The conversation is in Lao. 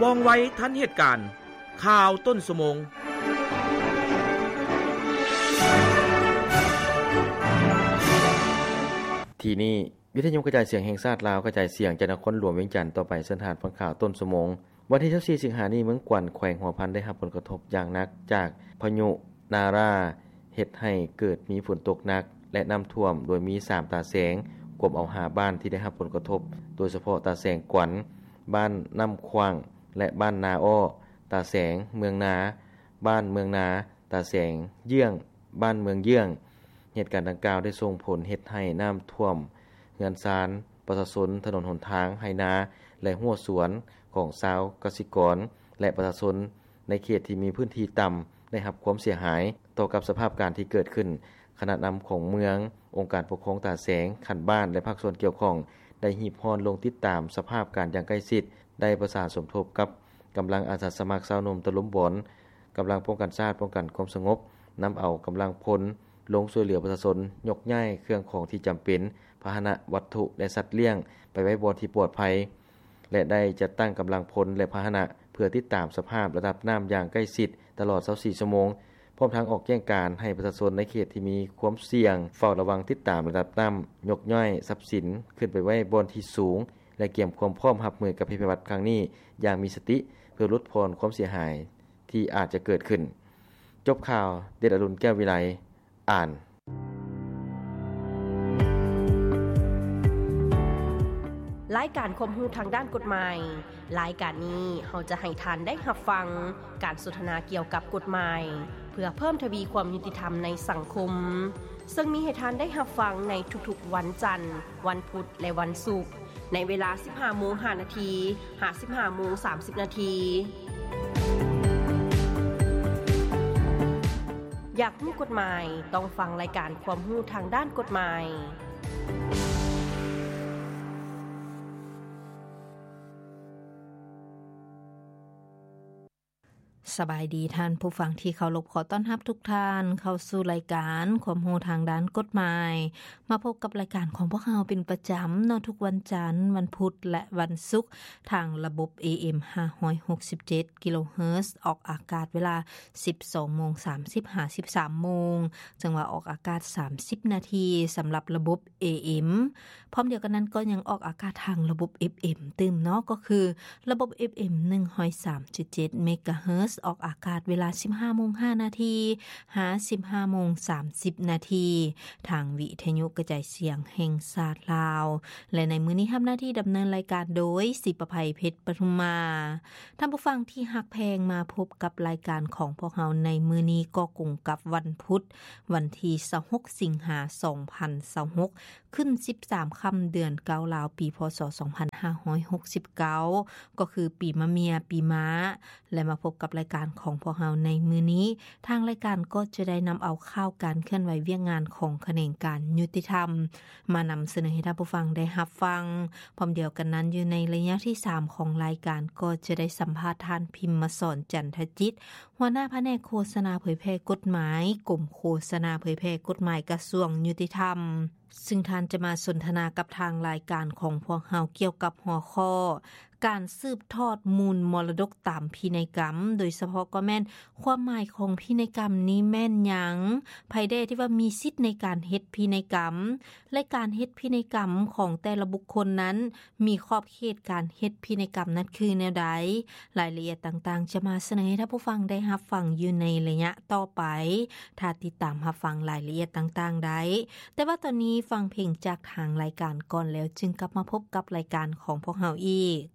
ວ່ອງໄວທັນເຫດການ. ຂ່າວຕົ້ນຊົ່ວໂມງ. ທີ່ນີ້ ວິທະຍຸກະຈາຍສຽງແຫ່ງຊາດລາວ ກະຈາຍສຽງຈາກນະຄອນຫຼວງວຽງຈັນຕໍ່ໄປ. ເຊີນທ່ານຟັງຂ່າວຕົ້ນຊົ່ວໂມງ. ວັນທີຊາວສີ່ ສິງຫານີ້ ເມືອງກວັນ ແຂວງຫົວພັນ ໄດ້ຮັບຜົນກະທົບຢ່າງໜັກຈາກພາຍຸນາຣາ ເຮັດໃຫ້ເກີດມີຝົນຕົກໜັກ ແລະ ນ້ຳຖ້ວມ ໂດຍມີສາມຕາແສງ ກວມເອົາຫ້າບ້ານທີ່ໄດ້ຮັບຜົນກະທົບ, ໂດຍສະເພາະຕາແສງກວັນ, ບ້ານນ້ຳຂວ້າງ ແລະ ບ້ານນາອ້ອ, ຕາແສງ, ເມືອງນາ, ບ້ານເມືອງນາ, ຕາແສງ, ເຍືອງ, ບ້ານເມືອງເຍືອງ. ເຫດການດັ່ງກ່າວໄດ້ສົ່ງຜົນເຮັດໃຫ້ນ້ຳຖ້ວມເຮືອນຊານປະຊາຊົນ, ຖະໜົນຫົນທາງ, ໄຮ່ນາ ແລະ ຮົ້ວສວນຂອງຊາວກະສິກອນ ແລະ ປະຊາຊົນໃນເຂດທີ່ມີພື້ນທີ່ຕ່ຳ ໄດ້ຮັບຄວາມເສຍຫາຍ. ຕໍ່ກັບສະພາບການທີ່ເກີດຂຶ້ນ, ຄະນະນຳຂອງເມືອງ, ອົງການປົກຄອງຕາແສງ, ຂັ້ນບ້ານ ແລະ ພາກສ່ວນກ່ຽວຂ້ອງ ໄດ້ຮີບຮ້ອນລົງຕິດຕາມສະພາບການຢ່າງໃກ້ຊິດ, ໄດ້ປະສານສົມທົບກັບກຳລັງອາສາສະໝັກຊາວໜຸ່ມຕະລຸມບອນ, ກຳລັງປ້ອງກັນຊາດ, ປ້ອງກັນຄວາມສະຫງົບ, ນຳເອົາກຳລັງພົນລົງຊ່ວຍເຫຼືອປະຊາຊົນ, ຍົກຍ້າຍເຄື່ອງຂອງທີ່ຈຳເປັນ, ພາຫະນະ, ວັດຖຸ ແລະ ສັດລ້ຽງ ໄປໄວ້ບ່ອນທີ່ປອດໄພ ແລະ ໄດ້ຈັດຕັ້ງກຳລັງພົນ ແລະ ພາຫະນະ ເພື່ອຕິດຕາມສະພາບລະດັບນ້ຳຢ່າງໃກ້ຊິດຕະຫຼອດຊາວສີ່ຊົ່ວໂມງ, ພ້ອມທັງອອກແຈ້ງການໃຫ້ປະຊາຊົນໃນເຂດທີ່ມີຄວາມສ່ຽງ ເຝົ້າລະວັງຕິດຕາມລະດັບນ້ຳ, ຍົກຍ້າຍຊັບສິນຂຶ້ນໄປໄວ້ບ່ອນທີ່ສູງ ແລະ ກຽມຄວາມພ້ອມຮັບມືກັບໄພພິບັດຄັ້ງນີ້ຢ່າງມີສະຕິ ເພື່ອຫຼຸດຜ່ອນຄວາມເສຍຫາຍທີ່ອາດຈະເກີດຂຶ້ນ. ຈົບຂ່າວ, ເດດອະລຸນ ແກ້ວວິໄລ ອ່ານ. ລາຍການຄວາມຮູ້ທາງດ້ານກົດໝາຍ. ລາຍການນີ້ເຮົາຈະໃຫ້ທ່ານໄດ້ຮັບຟັງການສົນທະນາກ່ຽວກັບກົດໝາຍ ເພື່ອເພີ່ມທະວີຄວາມຍຸຕິທຳໃນສັງຄົມ, ເຊິ່ງມີໃຫ້ທ່ານໄດ້ຮັບຟັງໃນທຸກໆວັນຈັນ, ວັນພຸດ ແລະ ວັນສຸກ ໃນເວລາສິບຫ້າໂມງຫ້ານາທີ ຫາ ສິບຫ້າໂມງສາມສິບນາທີ. ຢາກຮູ້ກົດໝາຍ? ຕ້ອງຟັງລາຍການຄວາມຮູ້ທາງດ້ານກົດໝາຍ. ສະບາຍດີທ່ານຜູ້ຟັງທີ່ເຄົາລົບ, ຂໍຕ້ອນຮັບທຸກທ່ານເຂົ້າສູ່ລາຍການຄວາມຮູ້ທາງດ້ານກົດໝາຍ. ມາພົບກັບລາຍການຂອງພວກເຮົາເປັນປະຈຳເນາະ, ທຸກວັນຈັນ, ວັນພຸດ ແລະ ວັນສຸກ ທາງລະບົບ ເອເອັມ ຫ້າຮ້ອຍຫົກສິບເຈັດ ກິໂລເຮີດ, ອອກອາກາດເວລາສິບສອງໂມງສາມສິບ ຫາ ສິບສາມໂມງ, ຈັ່ງວ່າອອກອາກາດສາມສິບນາທີສຳລັບລະບົບ ເອເອັມ. ພ້ອມດຽວກັນນັ້ນກໍຍັງອອກອາກາດທາງລະບົບ ເອຟເອັມ ຕື່ມເນາະ, ກໍຄືລະບົບ ເອຟເອັມ ໜຶ່ງຮ້ອຍສາມຈຸດເຈັດ ເມກາເຮີດ, ອອກອາກາດເວລາສິບຫ້າໂມງຫ້ານາທີ ຫາ ສິບຫ້າໂມງສາມສິບນາທີ ທາງວິທະຍຸກະຈາຍສຽງແຫ່ງຊາດລາວ. ແລະ ໃນມື້ນີ້ຮັບໜ້າທີ່ດຳເນີນລາຍການໂດຍ ສີປະໄພ ເພັດປະທຸມມາ. ທ່ານຜູ້ຟັງທີ່ຮັກແພງ, ມາພົບກັບລາຍການຂອງພວກເຮົາໃນມື້ນີ້ກໍກົງກັບວັນພຸດ, ວັນທີຊາວຫົກ ສິງຫາ ສອງພັນຊາວຫົກ, ຂຶ້ນສິບສາມຄ່ຳ ເດືອນເກົ້າລາວ, ປີ ພ.ສ. ສອງພັນຫ້າຮ້ອຍຫົກສິບເກົ້າ ກໍຄືປີມະເມຍ, ປີມ້າ. ແລະ ມາພົບກັບລາຍການຂອງພວກເຮົາໃນມື້ນີ້, ທາງລາຍການກໍຈະໄດ້ນຳເອົາຂ່າວການເຄື່ອນໄຫວວຽກງານຂອງຂະແໜງການຍຸຕິທຳ ມານຳສະເໜີໃຫ້ທ່ານຜູ້ຟັງໄດ້ຮັບຟັງ. ພ້ອມດຽວກັນນັ້ນ, ຢູ່ໃນໄລຍະທີສາມຂອງລາຍການ ກໍຈະໄດ້ສຳພາດທ່ານ ພິມມະສອນ ຈັນທະຈິດ, ຫົວໜ້າພະແນກໂຄສະນາເຜີຍແຜ່ກົດໝາຍ, ກົມໂຄສະນາເຜີຍແຜ່ກົດໝາຍ ກະຊວງຍຸຕິທຳ. ຊຶ່ງທ່ານຈະມາສົນທະນາກັບທາງລາຍການຂອງພວກເຮົາກ່ຽວກັບຫົວຂໍ້ ການສືບທອດມູນມໍລະດົກຕາມພິໄນກຳ, ໂດຍສະເພາະກໍແມ່ນຄວາມໝາຍຂອງພິໄນກຳນີ້ແມ່ນຫຍັງ, ໃຜແດ່ທີ່ວ່າມີສິດໃນການເຮັດພິໄນກຳ ແລະ ການເຮັດພິໄນກຳຂອງແຕ່ລະບຸກຄົນນັ້ນ ມີຂອບເຂດການເຮັດພິໄນກຳນັ້ນຄືແນວໃດ? ລາຍລະອຽດຕ່າງໆ ຈະມາສະເໜີໃຫ້ທ່ານຜູ້ຟັງໄດ້ຮັບຟັງຢູ່ໃນໄລຍະຕໍ່ໄປ. ຖ້າຕິດຕາມຮັບຟັງລາຍລະອຽດຕ່າງໆໄດ້. ແຕ່ວ່າຕອນນີ້ຟັງເພງຈາກທາງລາຍການກ່ອນ ແລ້ວຈຶ່ງກັບມາພົບກັບລາຍການຂອງພວກເຮົາອີກ.